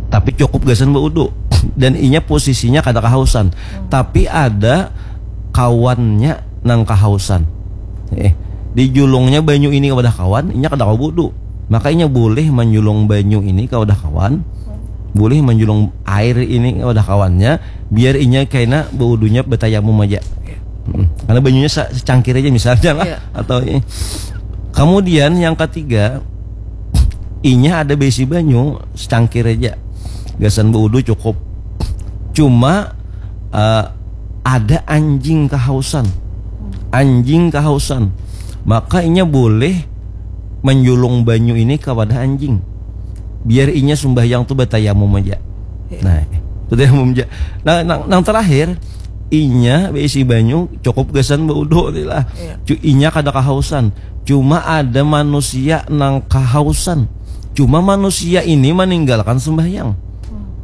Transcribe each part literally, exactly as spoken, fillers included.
Tapi cukup gasan baudu. Dan inya posisinya kada kahausan. Tapi ada kawannya nang kahausan. Eh, dijulungnya banyu ini ka wadah kawan, inya kada kawa baudu. Maka inya boleh manjulung banyu ini ka wadah kawan, boleh manjulung air ini ka wadah kawannya, biar inya kaina baudunya batayamum aja. Hmm. Karena banyunya sa- secangkir aja misalnya lah. Iya. Atau ini. Kemudian yang ketiga, inya ada baisi banyu secangkir aja. Gasan baudu cukup. Cuma eh, ada anjing kahausan. Anjing kahausan. Maka inya boleh manjulung banyu ini ka wadah anjing. Biar inya sumbahyang tu batayamum aja. Iya. Nah, batayamum aja. Nah, nang, nang terakhir, inya baisi banyu cukup gasan baudu ni lah. Iya. Cu- Inya kada kahausan. Cuma ada manusia nang kahausan. Cuma manusia ini meninggalkan sembahyang.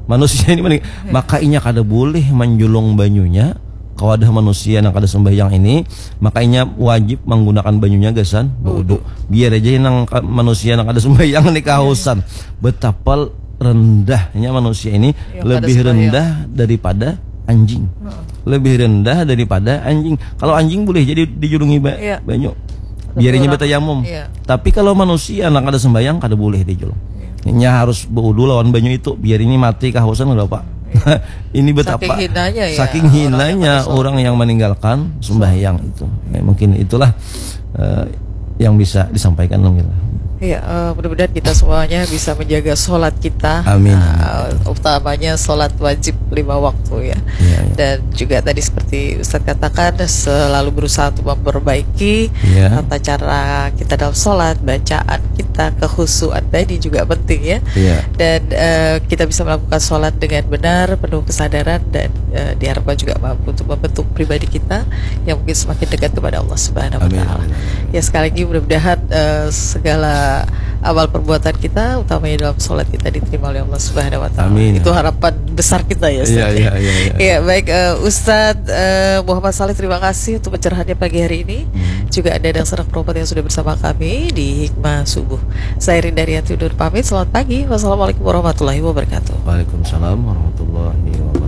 Manusia ini mening- Iya. Maka inya kada boleh manjulung banyunya ka wadah manusia nang kada sembahyang ini, maka inya wajib menggunakan banyunya gasan baudu. Biar aja nang ka- manusia nang kada sembahyang ini kahausan. Betapa rendahnya manusia ini, lebih rendah daripada anjing. Lebih rendah daripada anjing. Kalau anjing boleh jadi dijulungi ba- Iya. banyu. Biar inya batayamum. Iya. Tapi kalau manusia nang kada sembahyang kada boleh dijulung. Inya harus baudu lawan banyu itu, biar ini mati kahausan, nggak apa. Ini betapa saking hinanya ya, saking hinanya orang yang meninggalkan sembahyang itu. Ya, mungkin itulah eh, yang bisa disampaikan, Nung Mila. Ya, eh, mudah-mudahan kita semuanya bisa menjaga sholat kita. Amin, eh, utamanya sholat wajib lima waktu ya. Iya, iya. Dan juga tadi seperti Ustadz katakan, selalu berusaha untuk memperbaiki Iya. tata cara kita dalam sholat, bacaan kita, kehusuan tadi juga penting ya. Iya. Dan eh, kita bisa melakukan sholat dengan benar, penuh kesadaran, dan eh, diharapkan juga mampu untuk membentuk pribadi kita yang mungkin semakin dekat kepada Allah Subhanahu wa Amin, Taala. amin, amin. Ya, sekali lagi mudah-mudahan eh, segala amal perbuatan kita, utamanya dalam sholat kita, diterima oleh Allah Subhanahu wa Taala. Amin. Itu harapan besar kita ya, Ustaz, Iya, ya. Iya, iya, iya. Ya, baik, eh, Ustadz eh, Muhammad Saleh, terima kasih untuk pencerahannya pagi hari ini. Hmm. Juga ada Dangsana Kropat yang sudah bersama kami di Hikmah Subuh. Saya Rinda Rianti undur pamit. Selamat pagi. Wassalamualaikum warahmatullahi wabarakatuh. Waalaikumsalam warahmatullahi wabarakatuh.